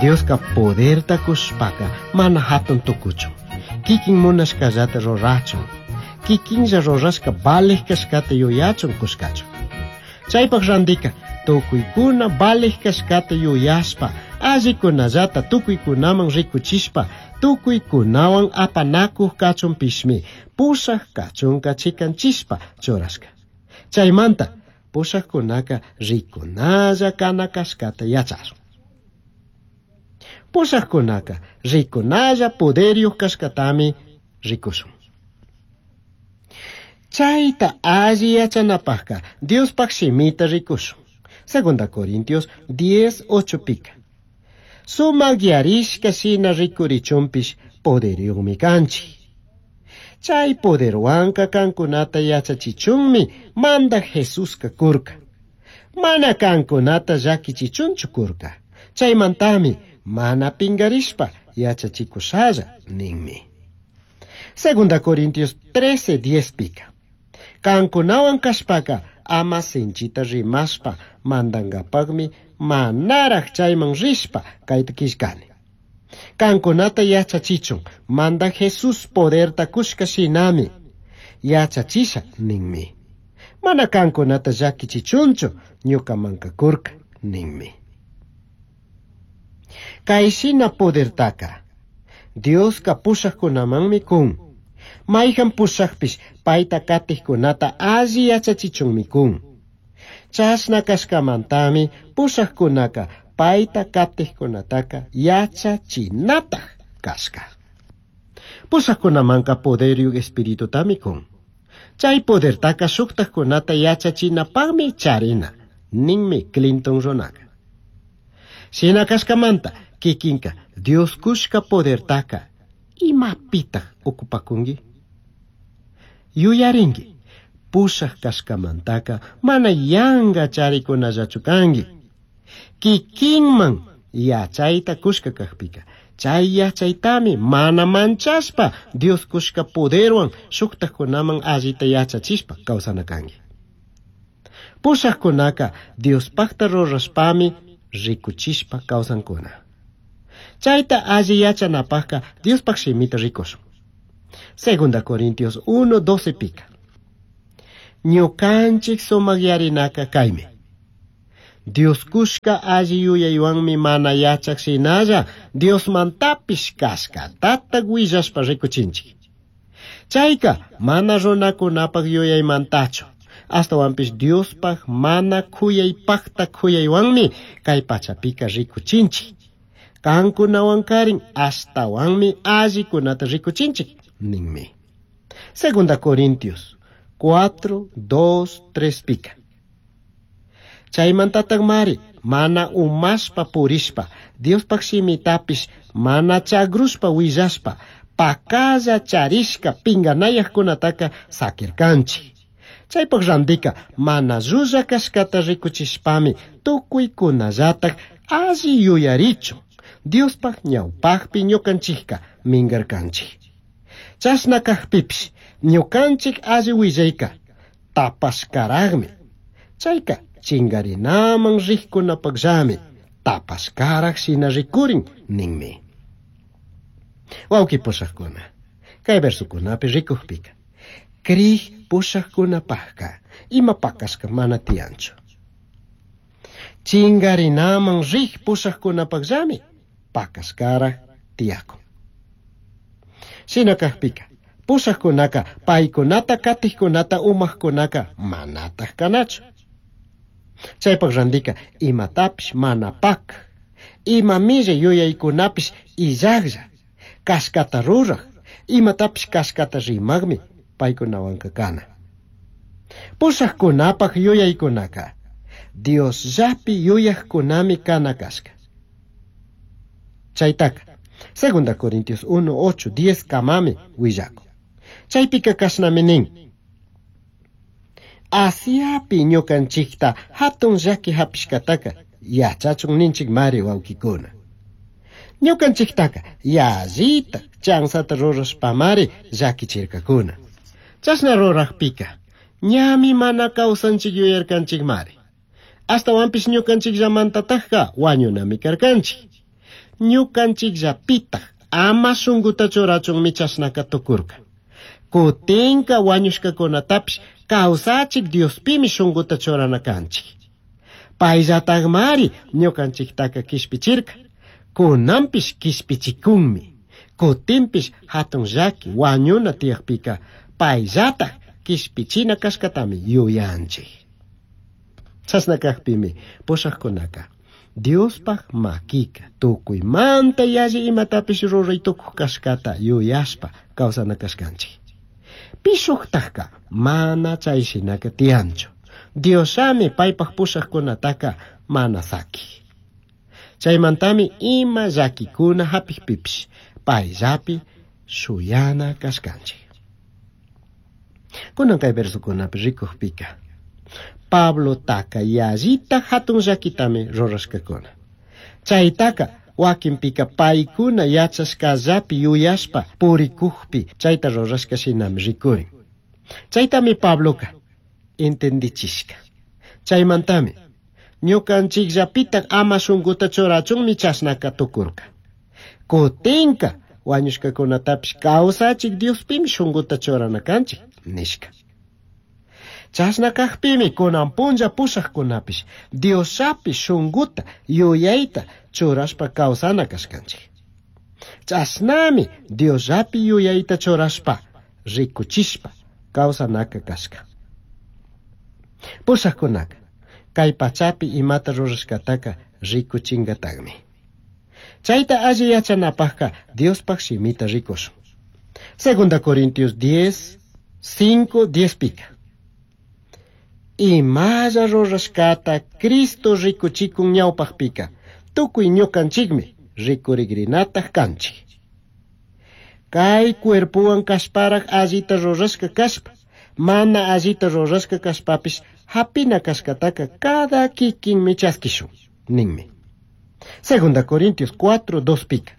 Dioska poderta kushpaka mana hatun tukuchun. Kikin munashkallata rurachun. Kikinlla rurashka valej kashkata yuyachun kushkachun. Chaypaq randika tukuykuna valej kashkata yuyashpa allikunallata tukuykunaman rikuchishpa tukuykunawan apanakuq kachunpishmi pushaq kachunka chikanchishpa churashka. Chaymanta pushaqkunaka rikunalla kana kashkata yachashun. Pushaqkunaka rikunalla poderyuq kashkatami rikushun. Chayta alli yachanapaqka Diospaq shimita rikushun. Segunda Corintios 10, 8 pika. Sumakyarishka shina rikurichunpish poderyuqmi kanchik. Chay poderwanka kankunata yachachichunmi mandaq Jesuska kurka. Mana kankunata llakichichunchu kurka. Chaymantami mana pingarishpa yachachikushalla ninmi. Segunda Corintios 13, 10 pika. Kankunawan kashpaka ama sinchita rimashpa mandankapaqmi manaraq chayman rishpa kayta killkani. Kankunata yachachichun mandaq Jesús poderta kushka shinami yachachisha ninmi. Mana kankunata llakichichunchu ñukamanka kurka ninmi. Kay shina podertaka Dioska pushaqkunamanmi kun. Mayhan pushaqpish payta katiqkunata alli yachachichunmi kun. Chashna kashkamantami pushaqkunaka payta katiqkunataka yachachinataq kashka. Pushaqkunamanka poderyuq espiritutami kun. Chay podertaka shuqtaqkunata yachachinapaqmi charina, ninmi Clinton runaka. Shina kashkamanta kikinka Dios kushka podertaka imapitaq ocupakunki? Yuyarinki, pushaq kashkamantaka mana yanka charikunallachu kanki. Kikinman yachayta kushka kaqpika, chay yachaytami mana manchashpa Dios kushka poderwan shuqtaqkunaman allita yachachishpa kawsana kanki. Pushaqkunaka Diospaqta rurashpami rikuchishpa kawsankuna. Chayta alli yachanapaqka Diospaq shimita rikushun. Segunda Corintios 1, 12 pika. Ñukanchik sumakyarinaka kaymi. Dios kushka alli yuyaywanmi mana yachaq shinalla Diosmantapish kashkatata willashpa rikuchinchik. Chayka mana runakunapaq yuyaymantachu. Ashtawanpish Diospaq mana khuyaypaqta khuyaywanmi kay pachapika rikuchinchik. Kankunawan karin ashtawanmi allikunata rikuchinchik ninmi. Segunda Corintios 4, 2, 3 pika. Chaymantataq mari mana umashpa purishpa Diospaq shimitapish mana chagrushpa willashpa pakalla charishka pinganayaqkunataka sakirkanchik. Chaypaq randika mana llulla kashkata rikuchishpami tukuykunallataq alli yuyarichun Diospaq ñawpaqpi ñukanchikka minkarkanchik. Chashna kaqpipish ñukanchik alli willayka tapashkaraqmi. Chayka chingarinaman riqkunapaqllami tapashkaraq shina rikurin ninmi. Wawqi pushaqkuna, kay versukunapi rikuqpika, kriq pushaqkunapaqqa ima pakashka mana tiyanchu. Chingarinaman riq pushaqkunapaqllami pakashkaraq tiyakun. Shina kaqpika, pushaqkunaka paykunata katiqkunata umaqkunaka manataq kanachu. Chaypaq randika imatapish mana pak, ima millay yuyaykunapish illaqlla, kashkata ruraq, imatapish kashkata rimaqmi paykunawanka kana. Pushaqkunapaq yuyaykunaka Diosllapi yuyaqkunami kana kashka. Chaytaka, Segunda Corintios 1, 8, 10 kamami willakun. Chaypika kashnami nin. Asiapi ñukanchikta hatun llaki hapishkataka yachachun ninchik mari wawkikuna. Ñukanchiktaka yallita chansata rurashpamari llakichirkakuna. Chashna ruraqpika ñami mana kawsanchik yuyarkanchikmari. Ashtawanpish ñukanchikllamantatajka wañunami karkanchik. Ñukanchikllapitaj ama shunkuta churachunmi chashnaka tukurka. Kutinka wañushkakunatapish kawsachik Diospimi shunkuta churana kanchik. Payllatakmari ñukanchiktaka kishpichirka. Kunanpish kishpichikunmi. Kutinpish hatun llaki wañuna tiyakpika payllatak kishpichina kashkatami yuyanchik. Chashna kakpimi pushakkunaka Diospaj makika tukuymanta yalli imatapish ruray tukuq kashkata yuyashpa kawsana kashkanchik. Pishuktajka mana chay shinaka tiyanchu. Diosami paypaj pushakkunataka mana saki. Chaymantami ima llakikuna hapikpipish payllapi shuyana kashkanchik. Kunan kay versokunapi rikukpika Pablotaka yallita hatun llakitami rurashkakuna. Chaytaka wakinpika paykuna yachashkallapi yuyashpa purikukpi chayta rurashka shinami rikurin. Chaytami Pabloka entendichishka. Chaymantami ñukanchikllapitak ama shunkuta churachunmi chashnaka tukurka. Kutinka wañushkakunatapish kawsachik Diospimi shunkuta churana kanchik nishka. Chashna kakpimi kunan punlla pushakkunapish Diosllapi shunkuta yuyayta churashpa kawsana kashkanchik. Chashnami Diosllapi yuyayta churashpa rikuchishpa kawsanaka kashka. Pushakkunaka kay pachapi imata rurashkataka rikuchinkatakmi. Chayta alli yachanapajka Diospaj shimita rikushun. Segunda Corintios 10, 5, 10 pika. Imalla rurashkata Cristo rikuchikun ñawpajpika tukuy ñukanchikmi rikurigrinataq kanchik. Kay cuerpowan kashparaj allita rurashka kashpa, mana allita rurashka kashpapish hapina kashkataka cada kikinmi chaskishun, ninmi. Segunda Corintios 4, 2 pika.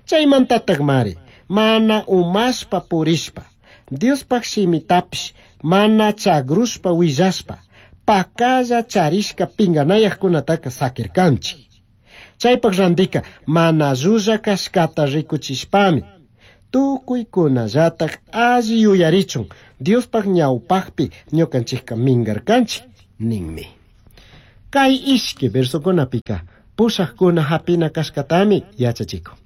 Chaymantataq mari, mana umashpa purishpa, Diospaj shimitapish mana chagrushpa willashpa, pakalla charishka pinganayaqkunataka sakirkanchik. Chaypaq randika mana llulla kashkata rikuchishpami, tukuykunallatak alli yuyarichun Diospaj ñawpaqpi ñukanchikka minkarkanchik ninmi. Kay ishki versokunapika pushaqkuna hapina kashkatami yachachikun.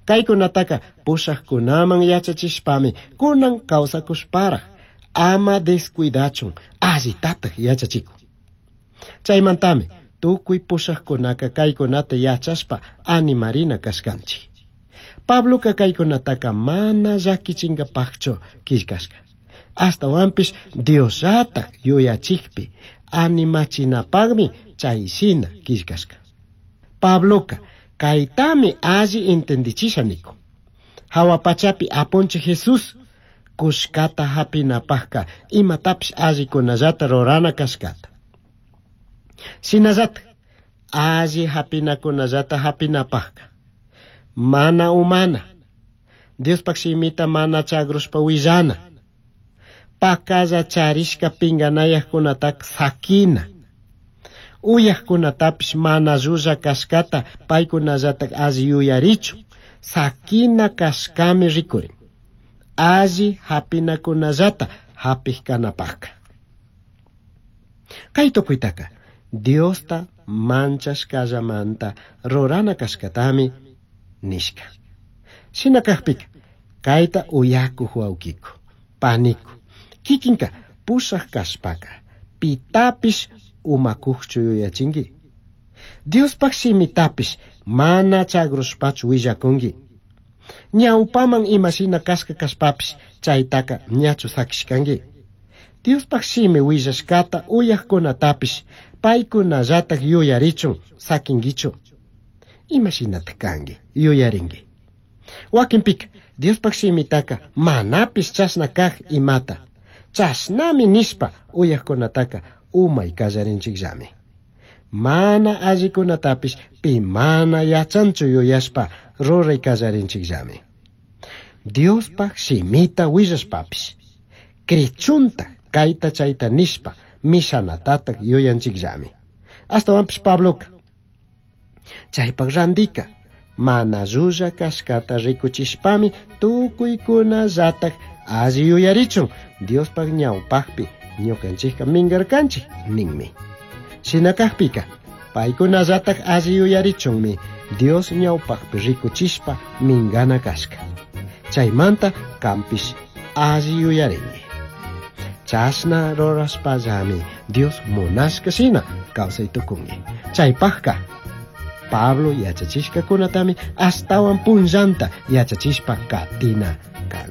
Kaykunataka pushaqkunaman yachachishpami kunan kawsakushparaj ama descuidachun allitataq yachachikun. Chaymantami tukuy pushaqkunaka kaykunata yachashpa animarina kashkanchik. Pabloka kaykunataka mana llakichinkapaqchu killkashka. Ashtawanpish Diosllatak yuyachikpi animachinapaqmi chayshina killkashka. Pabloka kaytami alli entendichisha nikun. Hawa pachapi apunchik Jesús kushkata hapinapaqka imatapish allikunallata rurana kashkata. Shinallatak alli hapinakunallata hapinapaqka mana umana, Diospaj shimita mana chagrushpa willana, pakalla charishka pinganayaqkunataka sakina, uyaqkunatapish mana llulla kashkata paykunallatak alli yuyarichun, sakina kashkami rikurin, alli hapinakunallata hapik kanapaqka. Kay tukuytaka Diosta manchashkallamanta rurana kashkatami nishka. Shina kakpika kayta uyakuq wawkiku, paniku, kikinka pushaq kashpaka pitapish umakuqchu yuyachinki. Diospaj shimitapish mana chagrushpachu willakunki. Ñawpaman imashina kashka kashpapish chaytaka ñachu sakishkanki. Diospaj shimi willashkata uyaqkunatapish paykunallatak yuyarichun sakinkichu. Imashinataq kanki yuyarinki. Wakinpika Diospaj shimitaka manapish chashna kaq imata. Chashnami nishpa uyaqkunataka umay kallarinchikllami. Mana allikunatapish pi mana yachanchu yuyashpa ruray kallarinchikllami. Diospaj shimita willashpapish krichunta kayta chayta nishpa mishanatatak yuyanchikllami. Ashtawanpish Pabloka chaypaq randika Mana llulla cashcata ricuchishpami tucuicunallataj alli yuyarichun Diospaj ñawpajpi ñukanchikka mingarkanchik ninmi. Shina kajpika paykunallataj alli yuyarichunmi Dios ñawpajpi ricuchishpa mingana kashka. Chaymanta kanpish alli yuyarinki. Chashna rurashpallami Dios munashka shina kawsay tukunki. Chaypajka Pablo yachachishkakunatami ashtawan punllanta yachachishpa katina kanchik.